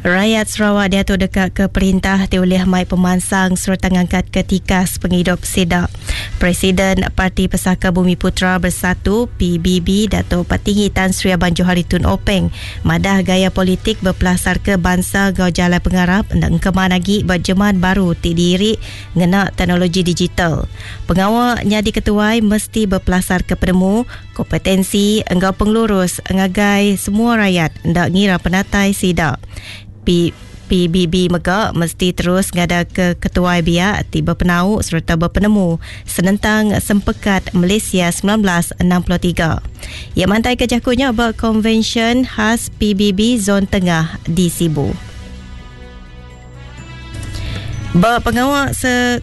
Rayat Sarawak diatu deka ke perintah ti ulih mai pemansang sereta ngangkatka tikas pengidup sida. Presiden Parti Pesaka Bumiputera Bersatu, PBB, Datuk Patinggi Tan Sri Abang Johari Tun Openg madah gaya politik bepelasarka bansa enggau jalai pengarap enda engkeman agi ba jeman baru ti diiri ngena teknologi digital. Pengawa nyadi ketuai mesti bepelasarka penemu, Kompetensi enggau pengelurus ngagai semua rayat enda ngira penatai sida. PBB mega mesti terus ngadaka ketuai biak ti bepenau sereta bepenemu senentang Sempekat Malaysia 1963. Iya mantaika jaku nya ba Konvensyen Khas PBB Zon Tengah di Sibu. Ba pengawa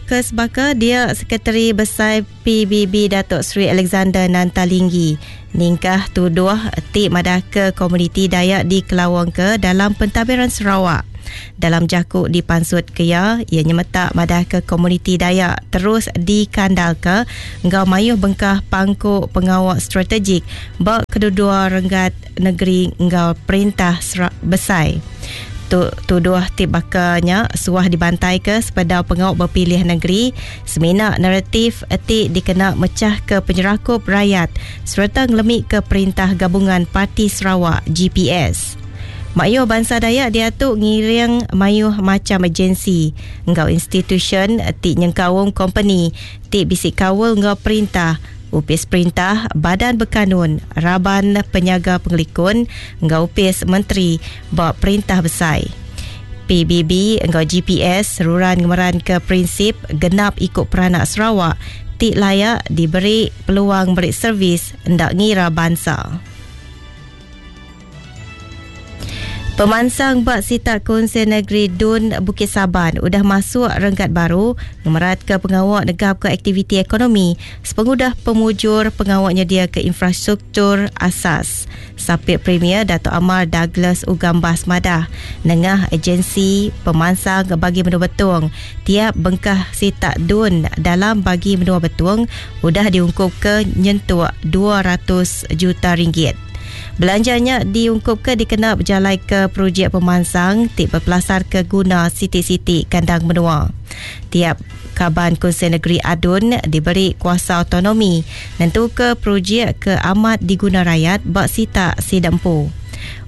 ke sebaka dia Sekretari Besai PBB Datuk Seri Alexander Nanta Linggi ningkah tuduh ti madahka komuniti Dayak dikelawangka dalam pentadbiran Sarawak. Dalam jaku dipansutka iya, iya nyemetak madahka komuniti Dayak terus dikandalka enggau mayuh bengkah pangku pengawa strategik ba kededua renggat negeri enggau perintah besai. Tu tuduh ti baka nya suah dibantaika sepedau pengawa bepilih negeri semina naratif ti dikena mechahka penyerakup rayat sereta ngelemika perintah Gabungan Parti Sarawak, GPS. Mayuh bansa Dayak diatu ngiring mayuh macham agensi enggau institusyen ti nyengkaum kompeni ti bisi kaul enggau perintah Opis Perintah, Badan Bekanun, Raban Penyaga Pengelikun enggau Opis Menteri ba Perintah Besai. PBB enggau GPS seruran ngemeranka prinsip genap iku peranak Sarawak ti layak diberi peluang meri servis enda ngira bansa. Pemansang ba sitak Kunsil Negeri Dun Bukit Saban udah masuk renggat baru ngemeratka pengawa negapka aktiviti ekonomi sepengudah pemujur pengawa nyediaka infrastruktur asas. Sapit Premier Datuk Amar Douglas Uggah Embas madah, nengah Agensi Pemansang Bagi Menua Betong, tiap bengkah sitak Dun dalam Bagi Menua Betong udah diungkupka nyentuk 200 juta ringgit. Belanja nya diungkupka dikena bejalaika projek pemansang ti bepelasarka guna siti-siti kandang menua. Tiap kaban Kunsil Negeri ADUN diberi kuasa autonomi nentuka projek ke amat diguna rayat ba sitak sida empu.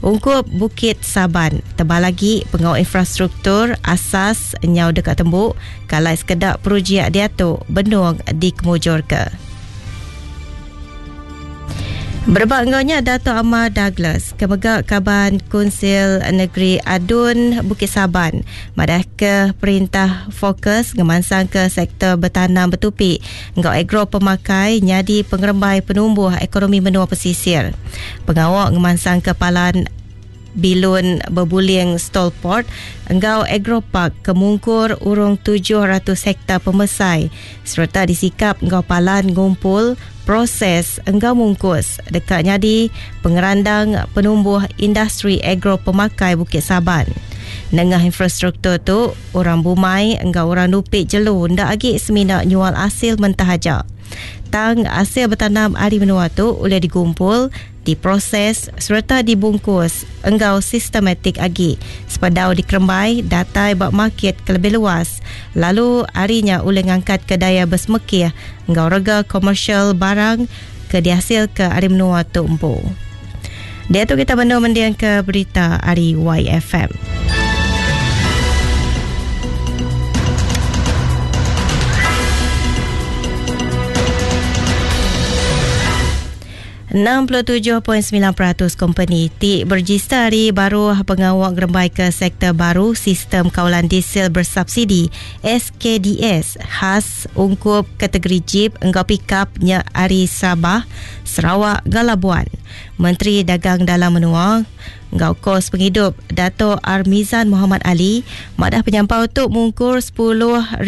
Ungkup Bukit Saban, tebal agi pengawa infrastruktur asas nyau deka tembu kalai sekeda projek diatu benung dikemujurka. Berebak enggau nya, Datuk Amar Douglas ke mega kaban Kunsil Negeri ADUN Bukit Saban madahka perintah fokus ngemansangka sektor betanam betupi enggau agro pemakai nyadi pengerembai penumbuh ekonomi menua pesisir. Pengawa ngemansangka palan Bilun Bebuling Stolport enggau Agropark ke mungkur urung 700 hektar pemesai sereta disikap enggau palan ngumpul, proses enggau mungkus deka nyadi pengerandang penumbuh industri agro pemakai Bukit Saban. Nengah infrastruktur tu, orang bumai enggau orang nupi jelu enda agi semina nyual asil mentah aja. Tang asil betanam ari menua tu ulih digumpul diproses sereta dibungkus enggau sistematik agi sebedau dikerembai datai ba makit ke lebih luas lalu ari nya ulih ngangkatka daya besemekih enggau rega komersial barang ke diasilka ari menua tu empu. Diatu kita benung mendingka berita ari YFM. 67.9% kompeni ti berejista ari baruh pengawa ngerembaika sektor baru Sistem Kawalan Diesel Bersubsidi, SKDS, khas ungkup kategori jip enggau pikap nya ari Sabah, Sarawak enggau Labuan. Menteri Dagang Dalam Menua, Enggau kos pengidup, Dato Armizan Mohamad Ali madah penyampau tu mungkur 10,453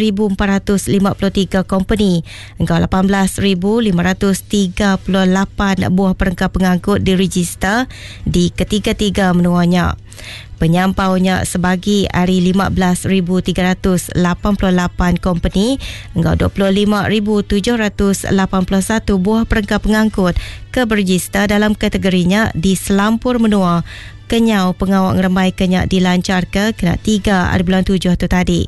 kompeni enggau 18,538 buah perengka pengangkut direjista di ketiga-tiga menua nya. Penyampau nya sebagi ari 15,388 kompeni enggau 25,781 buah perengka pengangkut ke berejista dalam kategori nya di selampur menua. Kenyau pengawa ngerembai ke nya dilancarka kena 3 hari bulan 7 tu tadi.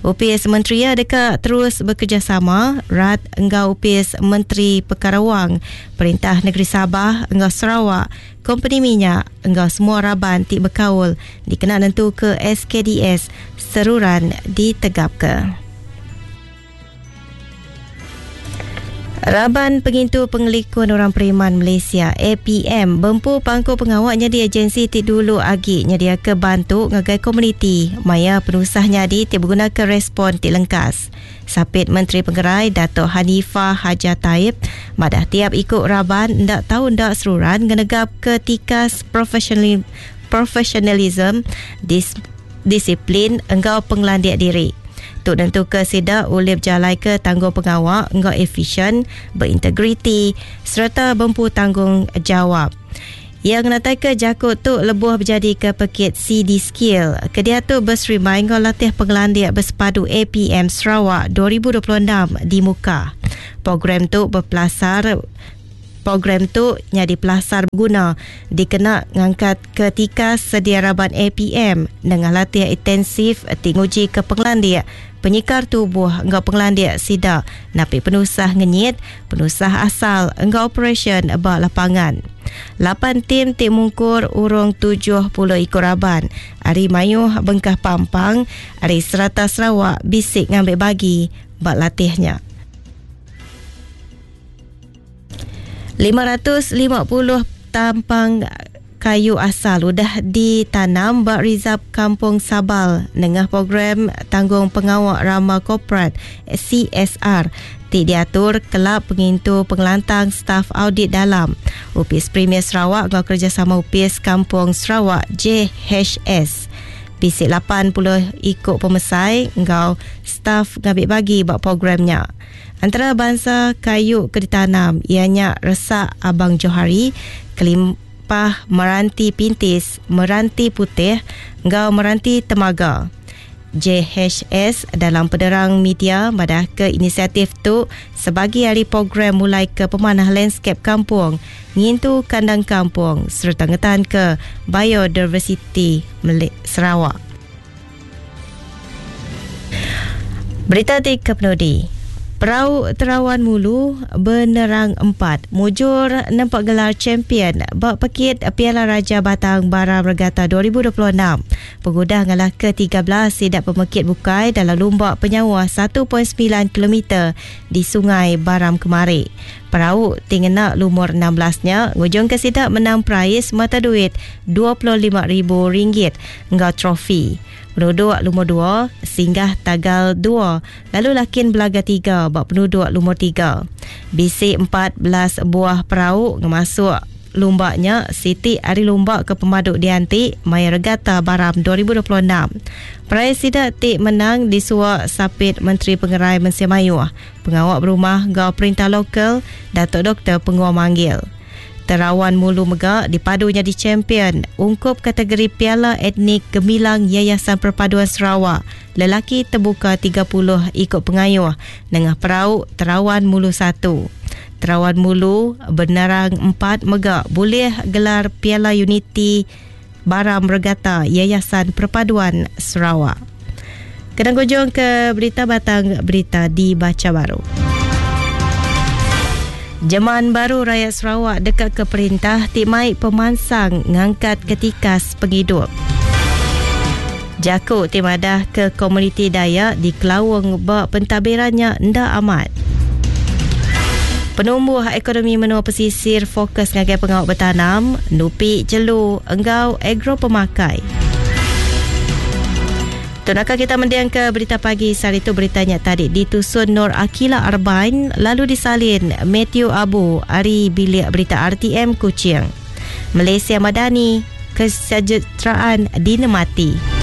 Upis Menteri ya deka terus bekerjasama rat enggau Upis Menteri Perkara Wang, Perintah Negeri Sabah enggau Sarawak, kompeni minyak enggau semua raban ti bekaul dikena nentu ke SKDS seruran ditegapka. Raban Pengintu Pengelikun Orang Periman Malaysia APM bempu pangku pengawa nyadi agensi ti dulu agi nyediaka bantu ngagai komuniti maya penusah nyadi ti begunaka respon ti lengkas. Sapit Menteri Pengerai Dato' Hanifah Hajar Taib madah tiap iku raban enda tau enda seruran ngenegap ke tikas professionalism, disiplin enggau pengelandik diri. Tu nentuka sida ulih bejalaika tanggung pengawa enggau efisien, berintegriti sereta bempu tanggungjawab. Iya ngenataika jaku tu lebuh bejadika pekit CD Skill ke diatu beserimbai enggau latih pengelandik bersepadu APM Sarawak 2026 di Mukah. Program tu bepelasar Program tu nyadi pelasar beguna dikena ngangkat ke tikas sedia raban APM nengah latih intensif ti nguji ke pengelandik penyikar tubuh enggau pengelandik sida napi penusah ngenyit, penusah asal enggau operasyen ba lapangan. 8 tim ti mungkur urung 70 iku raban ari mayuh bengkah pampang ari serata Sarawak bisi ngambil bagi ba latihnya. 550 tampang kayu asal udah ditanam ba Rizab Kampung Sabal nengah program Tanggung Pengawa Rama Korporat CSR ti diatur Kelab Pengintu Pengelantang Staf Audit Dalam Opis Premier Sarawak enggau kerjasama Opis Kampung Sarawak JHS. Bisi 80 iku pemesai enggau staf ngambil bagi ba programnya. Antara bangsa kayu ke ditanam ianya resak Abang Johari, kelimpah meranti pintis, meranti putih enggau meranti temaga. JHS dalam penerang media madah ke inisiatif tu sebagi hari program mulai ke pemanah landscape kampung, ngintu kandang kampung serta ngetan ke biodiversity Sarawak. Berita ti kepenudi. Perau Terawan Mulu Benerang 4 mujur nempak gelar champion ba pekit Piala Raja Batang Baram Regata 2026. Pengudah ngalah ke-13 sidak pemekit bukai dalam lumba penyawa 1.9 km di Sungai Baram kemari. Perau tingena lumur 16-nya ngujung ke sidak menang prais mata duit RM25,000 enggau trofi. Penduduk lumur 2 singgah tagal 2 lalu lakin belaga 3 bak penduduk lumur 3. Bisi 14 buah perau ngemasuk lumbaknya Siti Ari Lumba ke Pemaduk Dianti Maya Regata Baram 2026. Perai sidak ti menang disuak Sapit Menteri Pengerai Mensia Mayuh, Pengawak Berumah Gau Perintah Lokal Datuk Dr. Penguang Manggil. Terawan Mulu mega dipadunya di champion ungkup kategori Piala Etnik Gemilang Yayasan Perpaduan Sarawak. Lelaki terbuka 30 ikut pengayuh nengah perau Terawan Mulu 1. Terawan Mulu Benerang 4 mega boleh gelar Piala Unity Baram Regata Yayasan Perpaduan Sarawak. Kena kunjung ke berita batang berita dibaca baru. Jeman baru rakyat Sarawak dekat ke perintah ti mai pemansang ngangkat ketikas penghidup. Jaku ti madah ke komuniti Dayak di Kelawang ba pentabirannya nda amat. Penumbuh ekonomi menua pesisir fokus ngagai pengawak bertanam, nupi jelu enggau agro pemakai. Tunaka kita mendiang ke berita pagi saat itu beritanya tadi ditusun Nur Akila Arbain lalu disalin Matthew Abu ari bilik berita RTM Kuching. Malaysia Madani kesejahteraan dinemati.